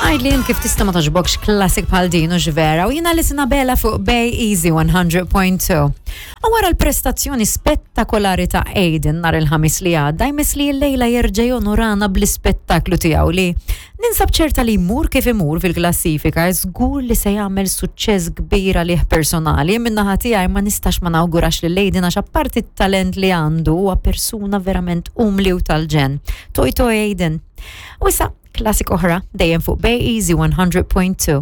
Għidli int kif tista' ma togħġbokx classic bħal din u vera u jiena li Bella fuq Bay Easy 100.2. U wara l-prestazzjoni spettakolari ta' Aiden nhar il-Ħamis li għadda, jmiss li l-lejla jerġa' jonorana bl-ispettaklu tiegħu li ninsab ċerta li jmur kif imur fil-klassifika, żgur li se jagħmel suċċess kbir għalih personali. Min-naħa tiegħi ma nistax ma nawgurax lil Aiden għax apparti t-talent li għandu huwa persuna verament umli u tal-ġenn. Toi toi Aiden. U issa classic oħra dejjem fuq Bay Easy 100.2.